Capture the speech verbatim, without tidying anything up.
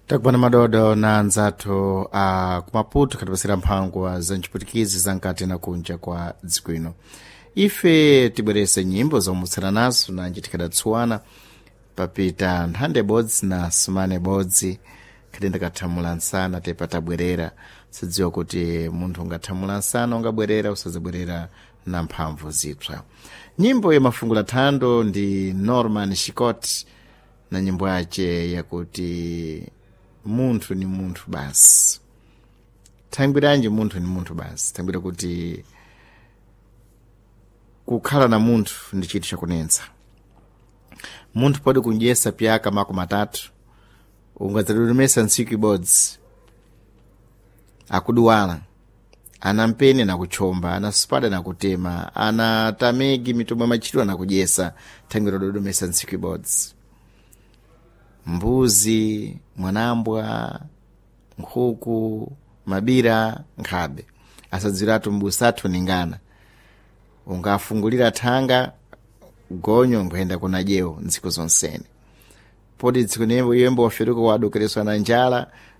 Takupana madodo na anzathu a kumaputo khatipasira mphangwa za ntchiputikizi za nkati na kunja kwa dziko ino. Ife tibwerese nyimbo zomutsana nazo nanji tikhadatsuwana papita nthande bodzi na sumane bodzi, khati ndikathamula nsana tepa tabwerera. Sidziwa kuti munthu ungathamula nsana ungabwerera usazabwerera na mphamvu zipsa. Nyimbo ya mafungula thando ndi Norman Shikot na nyimbo yace yakuti "Munthu ni munthu basi". Thangwiranji munthu ni munthu basi? Thangwira kuti kukhala na munthu ndi chinthu chakunensa. Munthu pode kundyesa pyaka makumi atatu, ungadzadodомesa ntsiku ibodzi akuduwala, ana mpeni nakutchomba, ana supada nakutema, ana tamegi mitombo ya machitidwe anakudyesa, thangwira dodomesa ntsiku ibodzi. Mbuzi, mwanambwa, nkhuku, mabira, nkhabe asadziwiratu mbusa athu ningana. Ungafungulira thanga gonyo nkhuyenda kuna dyewo ntsiku zonsene, poti tsiku nimbo yembo waferuka wadokereswa na njala.